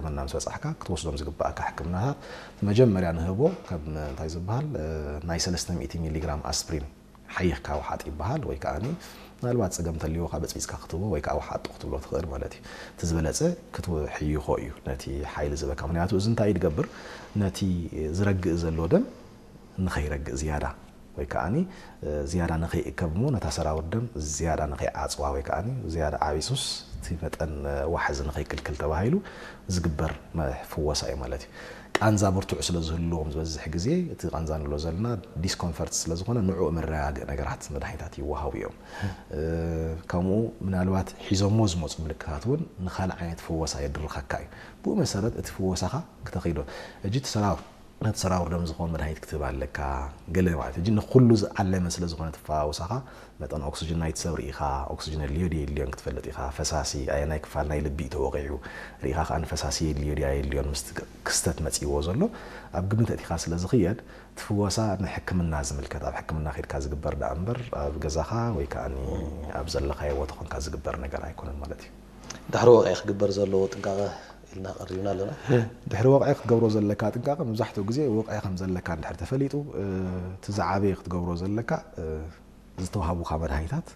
ሕክምና ምስ በጻሕካ ክትወስዶም ዝግባእካ ሕክምናታት መጀመርያ ንህቦ ከም እንታይ ዝበሃል ናይ ሰለስተ ሚእቲ ሚሊግራም ኣስፕሪን ሓይኽ ካውሓጥ ይበሃል። ወይ ከዓኒ ምናልባት ጸገም ተልዎ ካብ በጽቢጽካ ክትቦ ወይ ከዓ ውሓጡ ክትብሎ ትኽእል ማለት እዩ። እቲ ዝበለጸ ክትሕይኾ እዩ ነቲ ሓይሊ ዝበካ። ምክንያቱ እዚ እንታይ ድገብር ነቲ ዝረግእ ዘሎ ደም ንኸይረግእ ዝያዳ ወይ ከዓኒ ዝያዳ ንኸይእከብ እሞ ነታ ሰራውር ደም ዝያዳ ንኸይዓፅዋ ወይ ከዓኒ ዝያዳ ዓቢሱስ እቲ መጠን ዋሕዚ ንኸይክልክል ተባሂሉ ዝግበር ፍወሳ እዩ ማለት እዩ። ቃንዛ ብርቱዕ ስለ ዝህልዎም ዝበዝሕ ግዜ እቲ ቃንዛ ንብሎ ዘለና ዲስኮንፈርት ስለ ዝኾነ ንዕኡ መረጋግእ ነገራት መድሃኒታት ይወሃቡ እዮም። ከምኡ ምናልባት ሒዞሞ ዝመፁ ምልክታት እውን ንካልእ ዓይነት ፍወሳ የድርኸካ እዩ። ብኡ መሰረት እቲ ፍወሳኻ ክተኸይዶ እጂ እቲ ሰራውር ነቲ ሰራውር ደም ዝኾን መድሃኒት ክትህብ ኣለካ። ገለ ማለት እጂ ንኩሉ ዝዓለመ ስለ ዝኾነ ትፈዋውሳኻ መጠን ኦክስጅን ናይቲ ሰብ ርኢኻ ኦክስጅን የድልዮ ድዩ የድልዮን ክትፈልጥ ኢኻ። ፈሳሲ ኣየናይ ክፋል ናይ ልቢ እዩ ተወቂዑ ርኢኻ ከዓ ንፈሳሲ የድልዮ ድዩ ኣየድልዮን ምስቲ ክስተት መፂእዎ ዘሎ ኣብ ግምት ኣእቲኻ ስለ ዝኽየድ ትፍወሳ ንሕክምና ዝምልከት ኣብ ሕክምና ከድካ ዝግበር ደኣ እምበር ኣብ ገዛኻ ወይ ከዓ ኣብ ዘለኻዮ ቦታ ኮንካ ዝግበር ነገር ኣይኮነን ማለት እዩ። ድሕሪ ወቕዒ ክግበር ዘለዎ ጥንቃቐ ኢልና ቀሪብና ኣለና። ድሕሪ ወቕዒ ክትገብሮ ዘለካ ጥንቃቐ መብዛሕትኡ ግዜ ወቕዒ ከም ዘለካ እንድሕር ተፈሊጡ እቲ ዝዓበየ ክትገብሮ ዘለካ ዝተዋሃቡካ መድሃኒታት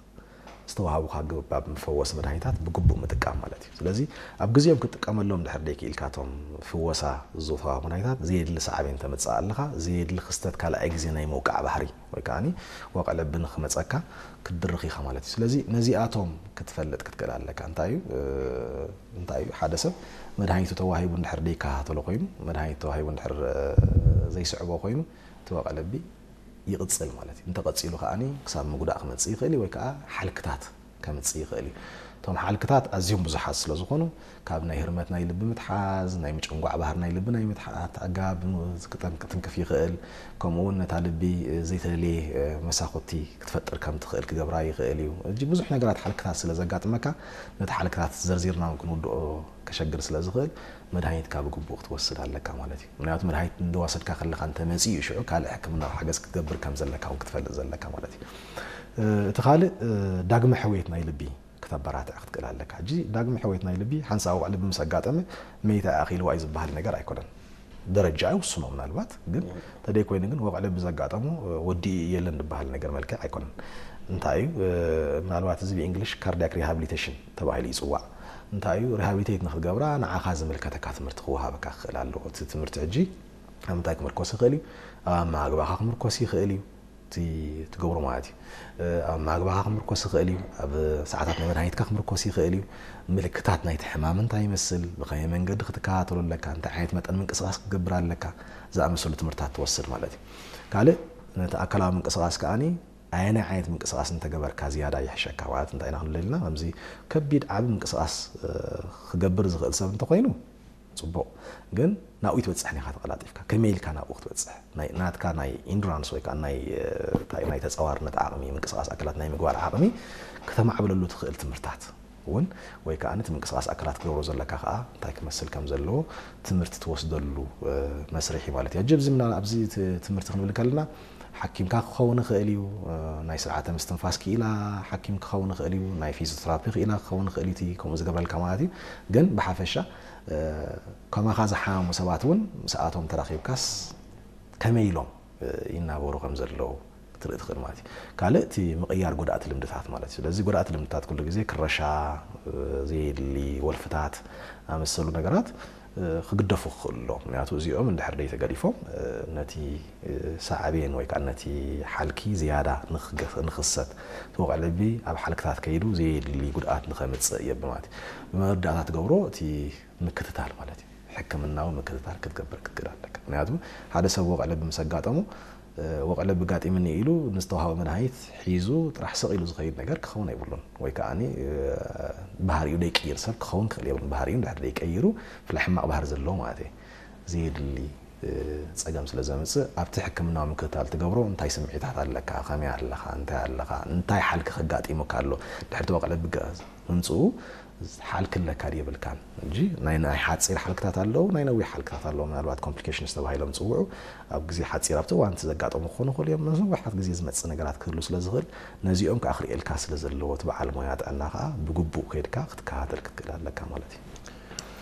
ዝተዋሃቡካ ግባብ መፈወሲ መድሃኒታት ብግቡእ ምጥቃም ማለት እዩ። ስለዚ ኣብ ግዜኦም ክትጥቀመሎም ድሕር ደይክኢልካቶም ፍወሳ ዝተዋሃቡ መድሃኒታት ዘየድሊ ሳዕቤን ተምፅእ ኣለኻ። ዘየድሊ ክስተት ካልኣይ ግዜ ናይ ምውቃዕ ባህሪ ወይ ከዓ ወቕዒ ልቢ ንክመፀካ ክትድርኽ ኢኻ ማለት እዩ። ስለዚ ነዚኣቶም ክትፈልጥ ክትክእል ኣለካ። እንታይ እዩ እንታይ እዩ ሓደ ሰብ መድሃኒቱ ተዋሂቡ እንድሕር ደይከታተሎ ኮይኑ መድሃኒቱ ተዋሂቡ እንድሕር ዘይስዕቦ ኮይኑ እቲ ወቕዒ ልቢ ይቕፅል ማለት እዩ። እንተቐፂሉ ከዓኒ ክሳብ ምጉዳእ ክመፅእ ይኽእል እዩ ወይ ከዓ ሓልክታት ከምፅእ ይኽእል እዩ። እቶም ሓልክታት ኣዝዮም ብዙሓት ስለ ዝኾኑ ካብ ናይ ህርመት ናይ ልቢ ምትሓዝ፣ ናይ ምጭንጓዕ ባህር ናይ ልቢ ናይ ምትሓት ኣገባብ ክትንክፍ ይኽእል። ከምኡ እውን ነታ ልቢ ዘይተደለየ መሳኹቲ ክትፈጥር ከም ትኽእል ክገብራ ይኽእል እዩ። እጂ ብዙሕ ነገራት ሓልክታት ስለ ዘጋጥመካ ነቲ ሓልክታት ዘርዚርና እውን ክንውድኦ ከሸግር ስለ ዝኽእል መድሃኒትካ ብግቡእ ክትወስድ ኣለካ ማለት እዩ። ምክንያቱ መድሃኒት እንደወሰድካ ከለኻ እንተመፂኡ ሽዑ ካልእ ሕክምናዊ ሓገዝ ክትገብር ከም ዘለካ እውን ክትፈልጥ ዘለካ ማለት እዩ። እቲ ካልእ ዳግመ ሕውየት ናይ ልቢ ክተበራትዕ ክትክእል ኣለካ። ሕጂ ዳግመ ሕውየት ናይ ልቢ ሓንሳብ ወቕዒ ልቢ ምስ ኣጋጠመ መይታ ኣኺልዋ እዩ ዝበሃል ነገር ኣይኮነን። ደረጃ ይውስኖ ምናልባት ግን ተደይ ኮይኑ ግን ወቕዒ ልቢ ዘጋጠሙ ወዲ የለን ዝበሃል ነገር መልክዕ ኣይኮነን። እንታይ እዩ ምናልባት እዚ ብእንግሊሽ ካርዲያክ ሪሃብሊቴሽን ተባሂሉ ይፅዋዕ። እንታይ እዩ ሪሃብሊቴት ንክትገብራ ንዓኻ ዝምልከተካ ትምህርቲ ክወሃበካ ክኽእል ኣለዎ። እቲ ትምህርቲ ሕጂ ኣብ ምንታይ ክምርኮስ ይኽእል እዩ? ኣብ ኣመጋግባኻ ክምርኮስ ይኽእል እዩ። እቲ ትገብሮ ማለት እዩ ኣብ ማግባኻ ክምርኮስ ይኽእል እዩ ኣብ ሰዓታት ናይ መድሃኒትካ ክምርኮስ ይኽእል እዩ ምልክታት ናይቲ ሕማም እንታይ ይመስል ብኸመይ መንገዲ ክትከታተሎ ኣለካ እንታይ ዓይነት መጠን ምንቅስቃስ ክትገብር ኣለካ ዝኣመሰሉ ትምህርታት ትወስድ ማለት እዩ ካልእ ነቲ ኣካላዊ ምንቅስቃስ ከዓኒ ኣየናይ ዓይነት ምንቅስቃስ እንተገበርካ ዝያዳ ይሕሸካ ማለት እንታይ ኢና ክንብል ኢልና ከምዚ ከቢድ ዓቢ ምንቅስቃስ ክገብር ዝኽእል ሰብ እንተኮይኑ ፅቡቕ ግን ናብኡ ይትበፅሕ ኒኻ ተቐላጢፍካ ከመይ ኢልካ ናብኡ ክትበፅሕ ናትካ ናይ ኢንዱራንስ ወይ ከዓ ናይ ተፃዋርነት ዓቕሚ ምንቅስቃስ ኣካላት ናይ ምግባር ዓቕሚ ከተማዕብለሉ ትኽእል ትምህርታት እውን ወይ ከዓ ነቲ ምንቅስቃስ ኣካላት ክገብሮ ዘለካ ከዓ እንታይ ክመስል ከም ዘለዎ ትምህርቲ ትወስደሉ መስርሒ ማለት እዩ። ኣብዚ ኣብዚ ትምህርቲ ክንብል ከለና ሓኪምካ ክኸውን ይኽእል እዩ፣ ናይ ስርዓተ ምስትንፋስ ክኢላ ሓኪም ክኸውን ይኽእል እዩ፣ ናይ ፊዚዮቴራፒ ክኢላ ክኸውን ይኽእል እዩ እቲ ከምኡ ዝገብረልካ ማለት እዩ። ግን ብሓፈሻ ከማኻ ዝሓመሙ ሰባት እውን ምስኣቶም ተራኺብካስ ከመይ ኢሎም ይናበሩ ከም ዘለዉ ክትርኢ ትኽእል ማለት እዩ። ካልእ እቲ ምቕያር ጎዳእቲ ልምድታት ማለት እዩ። ስለዚ ጎዳእቲ ልምድታት ኩሉ ግዜ ክረሻ፣ ዘየድሊ ወልፍታት ኣመሰሉ ነገራት ክግደፉ ክኽእሉ ኣለዎም። ምክንያቱ እዚኦም እንድሕር ደይተገዲፎም ነቲ ሳዕቤን ወይ ከዓ ነቲ ሓልኪ ዝያዳ ንኽሰት እቲ ወቕዒ ልቢ ኣብ ሓልክታት ከይዱ ዘየድሊ ጉድኣት ንኸምፅእ የብ ማለት እዩ። ብመወዳእታ ትገብሮ እቲ ምክትታል ማለት እዩ። ሕክምናዊ ምክትታል ክትገብር ክትክእል ኣለካ። ምክንያቱ ሓደ ሰብ ወቕዒ ልቢ ምስ ኣጋጠሙ ወቕዒ ልቢ ጋጢምኒ ኢሉ ንዝተዋህበ መድሃኒት ሒዙ ጥራሕ ስቕ ኢሉ ዝኸይድ ነገር ክኸውን ኣይብሉን። ወይ ከዓ ባህሪኡ ደይቅይር ሰብ ክኸውን ክእል የብሉን። ባህሪኡ እንድሕር ደይቀይሩ ብፍላይ ሕማቕ ባህሪ ዘለዎ ማለት እዩ ዘየድሊ ፀገም ስለ ዘምፅእ ኣብቲ ሕክምናዊ ምክትታል ትገብሮ እንታይ ስምዒታት ኣለካ፣ ከመይ ኣለኻ፣ እንታይ ኣለኻ፣ እንታይ ሓልኪ ከጋጢሙካ ኣሎ፣ ድሕሪ እቲ ወቕዒ ልቢ ምምፅኡ ሓልኪ ኣለካ ድዩ የብልካን እንጂ ናይ ናይ ሓፂር ሓልክታት ኣለዉ ናይ ነዊሕ ሓልክታት ኣለዉ ምናልባት ኮምፕሊኬሽንስ ተባሂሎም ዝፅውዑ ኣብ ግዜ ሓፂር ኣብቲ እዋን እቲ ዘጋጠሙ ክኾኑ ይኽእሉ እዮም ነዊሓት ግዜ ዝመፅእ ነገራት ክህሉ ስለ ዝኽእል ነዚኦም ከዓ ክርእየልካ ስለ ዘለዎ እቲ በዓል ሞያ ጥዕና ከዓ ብግቡእ ከይድካ ክትከታተል ክትክእል ኣለካ ማለት እዩ።